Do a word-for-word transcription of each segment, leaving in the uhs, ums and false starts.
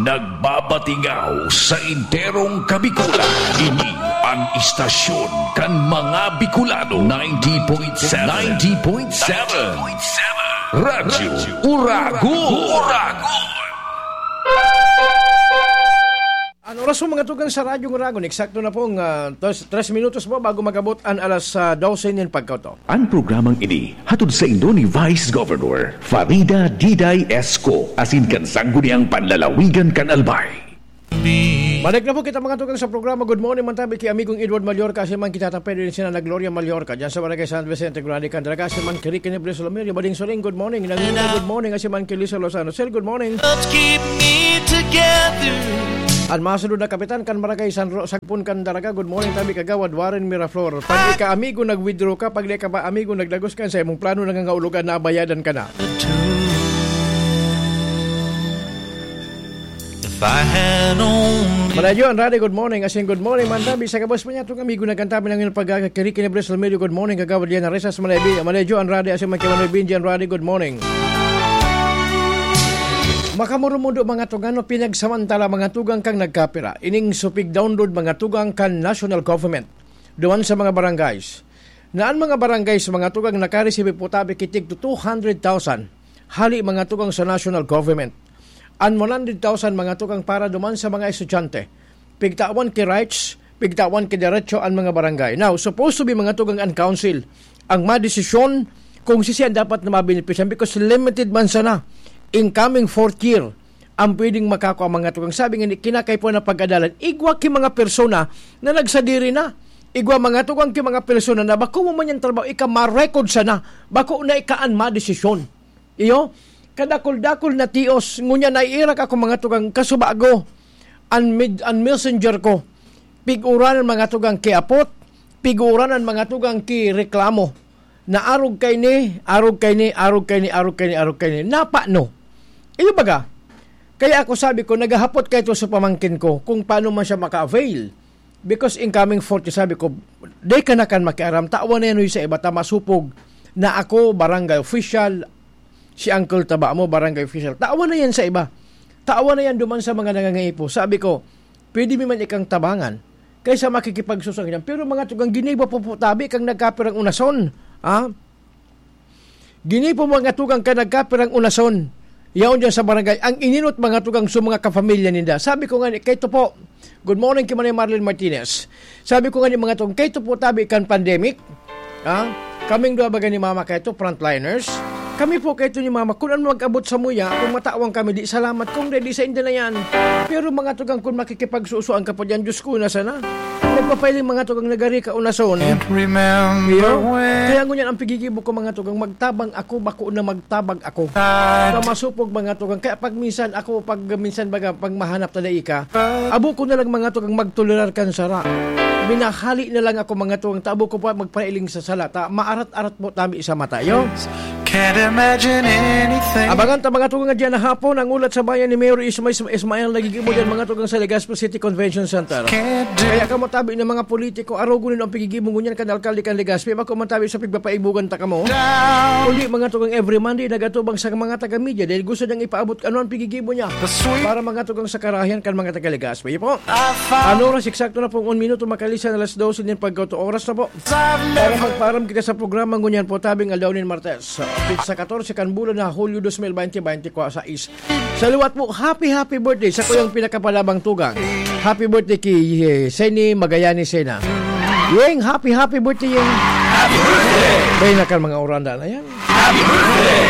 Nagbabatingaw sa enterong Kabikulan. Ini an istasyon kan mga Bicolano. Ninety point seven. Ninety point seven. Radyo Uragon. Uragon. An oras po, mga tugang, sa Radyo Uragon, eksakto na pong, ah, tres, tres minutos po bago mag-abot an alas, ah, dose nin pagkauto. An programang ini hatod saindo ni Vice Governor Farida Diday Esco, asin kan Sangguniang Panlalawigan kan Albay. Balik na po kita, mga tugang, sa programa Good Morning man tabi ki amigong Edward Mallorca, asin man kita taped din sina na Gloria Mallorca, diyan sa Barangay San Vicente Grande, Candelaga, asin man ki Ricky Nebres Lomerio, Bading Soling, good morning. Nangina, good morning, asin man ki Lisa Lozano. Sir, good morning. Helps keep me together. An masunod na kapitan kan Barangay San Ro-, Sagpon, Candelaga, good morning tabi Kagawad Warren Miraflor. Pag ika amigo nag-withdraw ka, pag di ka pa amigo nagdagos ka sa imong plano, nangangaulogan na bayadan ka na. If I had only Malayjo Andrade, good morning. Asin good morning man tabi sa gabos pa niya, itong amigo na kanta, pinangin pag-, ah, Ricky Nebres Lomerio, good morning, Kagawad Liana Resas, Malaybi-, Malayjo Andrade, asin man kay Manoy Benji Andrade, good morning. Makamurumundo, mga tugang, no, pinagsamantala, mga tugang, kang nagkapira. Ining supig download, mga tugang, kan national government. Duman sa mga barangays. Na an mga barangays, mga tugang, nakaresibi po tabi ki tig two hundred thousand. Hali, mga tugang, sa national government. An one hundred thousand, mga tugang, para duman sa mga estudyante. Pigtawan ki rights, pigtawan ki derecho an mga barangay. Now, supposed to be, mga tugang, an council ang madesisyon kung sisiya dapat na mabenepisyan, because limited man sana incoming fourth year ang pwedeng makakua, mga tugang. Sabi nga ni, kinakaipuhan na pag-adalan, igwa ki mga persona na nagsadiri na. Igwa, mga tugang, ki mga persona na bako mo man yan trabaho, ika ma-record sana, bako na ika an madesisyon. Iyo, kadakul-dakul na tios, ngunyan naiirak ako, mga tugang, kasubago, an med-, an messenger ko, pig-uran an mga tugang kiapot, pig-uran an mga tugang kireklamo, na arog kaini, arog kaini, arog kaini, arog kaini, arog kaini. Napa, no? Iyo baga, kaya ako sabi ko, naghahapot kaito sa pamangkin ko kung paano man siya maka-avail. Because incoming forty, sabi ko, "Di ka na kan makiaram, tawan na yan, uy, sa iba, ta masupog na ako, barangay official, si Uncle Taba mo, barangay official. Tawan na yan sa iba. Tawan na yan duman sa mga nangangaipo." Sabi ko, "Pwede mi man ikang tabangan kaysa makikipagsusuan." Pero, mga tugang, ginibo po po tabi kang nagkapirang unason. Ha? Ginipo, mga tugang, kan nagkapirang unason. Yaon diyan sa barangay. Ang ininot, mga tugang, sa mga kapamilya ninda. Sabi ko nga ni, kaito po, good morning ki Manay Marlene Martinez. Sabi ko nga ni, mga tugang, kaito po tabi kan pandemic. Ha? Kaming duwa baga ni Mama kaito, frontliners. Kami po kaito ni Mama, kun ano mag-abot sa muya, kung matawan kami, di salamat, kung di, di sa inda na yan. Pero, mga tugang, kung makikipagsusuan ka pa diyan, Diyos ko, na sana. Nagpapailing, mga tugang, nagari ka unason. Can't remember Iyo? When. Kaya ngunyan ang pigigibo ko, mga tugang, magtabang ako, bako na magtabang ako. Sa masupog, mga tugang. Kaya pag minsan ako, pag minsan baga, pag mahanap na daika, abo ko na lang, mga tugang, magtolerar kan sara. Minahali na lang ako, mga tugang, tabo ko pa magpailing sa sala. Ta, maarat-arat po tabi sa mata. Iyo? Can't imagine anything. Abangan ta, mga tugang, nga diyan na hapon, ang Ulat sa Bayan ni Mayor Isma-, Isma-, Ismael, nagigibo diyan, mga tugang, sa Legazpi City Convention Center. Can't do Kaya kamo tabi ng mga politiko, arogon nindo ang pigigibo ngunyan kan alkalde kan Legazpi, bako man tabi sa pigpapaibogan ta kamo. Down. Kundi, mga tugang, every Monday, nagatubang sa mga taga-media dahil gusto niyang ipaabot ano ang pigigibo niya The sweet para, mga tugang, sa karahayan kan mga taga-Legazpi. Iyo po. I found Ano oras eksakto na pong un minuto makalisan alas dose nin pagkauto oras na po. Para magpaaram kita sa programa ngunyan po, tabing aldaw nin Martes, sa, sa katorse kan bulan na Hulyo dos mil bente, bente kwa sais. Sa liwat po, happy, happy birthday sa kuyang pinakapalabang tugang. Happy birthday ki, eh, Seni Magallanes Sena. Yeng, happy, happy birthday, Yeng. Happy birthday! Bay na kan mga oranda na yan. Happy birthday!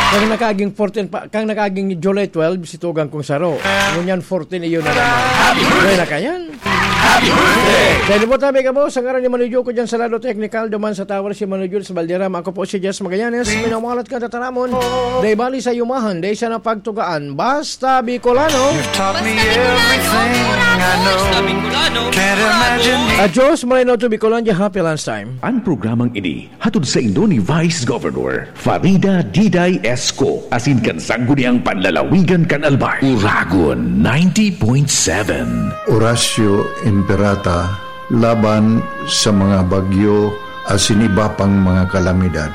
Kang nakaging fourteen pa, kang nakaging July twelve, si tugang kong saro. Ngunyan fourteen, iyon na naman. Happy birthday! Bay na ka yan. Happy birthday! Dahil mo tabi ka po, sa ngaran ni Manoy Joko dyan sa Lado Technical, duman sa Tower si Manoy Jules Valderrama. Ako po si Jess Magallanes, minamalat ka tataramon. Dahil bali sa yumahan, dahil siya napagtugaan. Basta Bicolano. You've taught me Basta Bicolano, everything I know. Basta Bicolano, Can't imagine me. Adios, Marino to Bicolandia. Happy lunchtime. Ang programang ini hatod saindo ni Vice Governor Farida Diday Esco, asin kan Sangguniang Panlalawigan kan Albay. Uragon ninety point seven. Horacio Imperata laban sa mga bagyo asin iba pang mga kalamidad.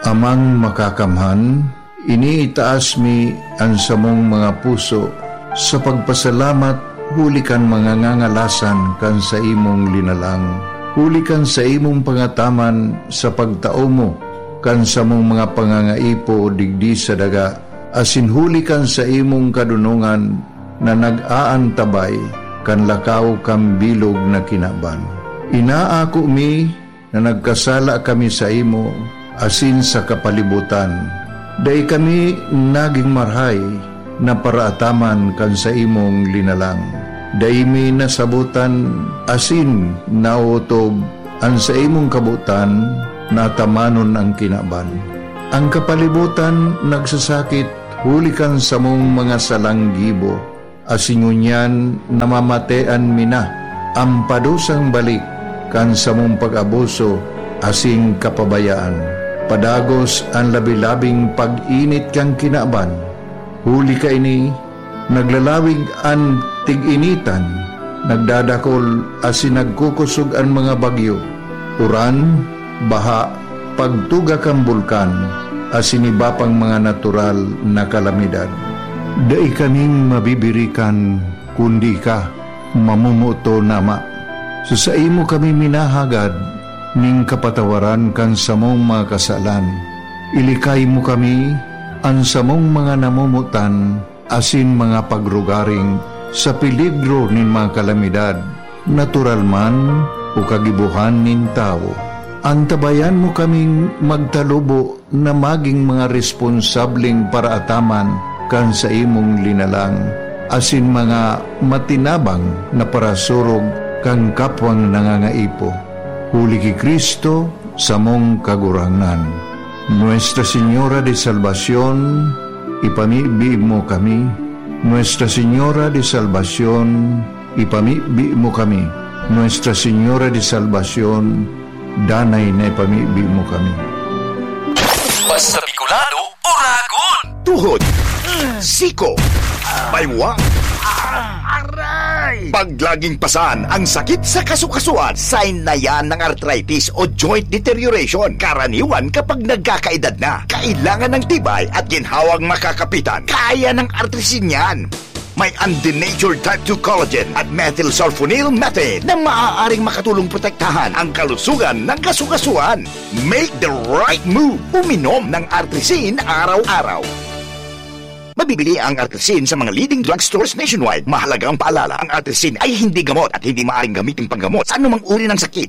Amang Makakamhan, Iniitaas mi an samong mga puso sa pagpasalamat huli kan mga ngangalasan kan saimong linalang, huli kan saimong pangataman sa pagtao mo kan samong mga pangangaipo digdi sa daga, asin huli kan saimong kadonongan na nag-aantabay kan lakaw kan bilog na kinaban. Inaako mi na nagkasala kami saimo asin sa kapalibutan. Dai kami nagin marahay na paraataman kan saimong linalang. Dai mi nasabotan asin naotob an saimong kabotan na atamanon an kinaban. An kapalibutan nagsasakit huli kan samong mga salang gibo, asin ngunyan namamatean mi na an padusang balik kan samong pag-abuso asin kapabayaan. Padagos an labi-labing pag-init kan kinaban. Huli kaini, naglalawig an tig-initan, nagdadakol asin nagkukosog an mga bagyo. Uran, baha, pagtuga kan bulkan, asin iba pang mga natural na kalamidad. Dai kaming mabibirikan kundi ika, mamomoton na Ama. Sa saimo kami minahagad nin kapatawaran kan samong mga kasalan. Ilikay mo kami, an samong mga namomotan, asin mga pagrugaring sa peligro nin mga kalamidad, natural man o kagibohan nin tawo. Antabayan mo kaming magtalubo na magin mga responsableng paraataman kan saimong linalang, asin mga matinabang na parasurog kan kapwang nangangaipo. Huli ki Cristo, samong Kagurangnan. Nuestra Señora de Salvacion, ipamibi mo kami. Nuestra Señora de Salvacion, ipamibi mo kami. Nuestra Señora de Salvacion, danay na ipamibi mo kami. Basta Bicolano, Oragon! Tuhod, siko, baywa, aray! Pag laging pasan ang sakit sa kasukasuan, sign na yan ng arthritis o joint deterioration. Karaniwan kapag nagkakaedad na, kailangan ng tibay at ginhawang makakapitan. Kaya ng Artrisin yan. May undenatured type two collagen at methylsulfonyl methane na maaaring makatulong protektahan ang kalusugan ng kasukasuan. Make the right move. Uminom ng Artrisin araw-araw. Mabibili ang Artrisin sa mga leading drugstores nationwide. Mahalagang paalala, ang Artrisin ay hindi gamot at hindi maaaring gamitin panggamot sa anumang uri ng sakit.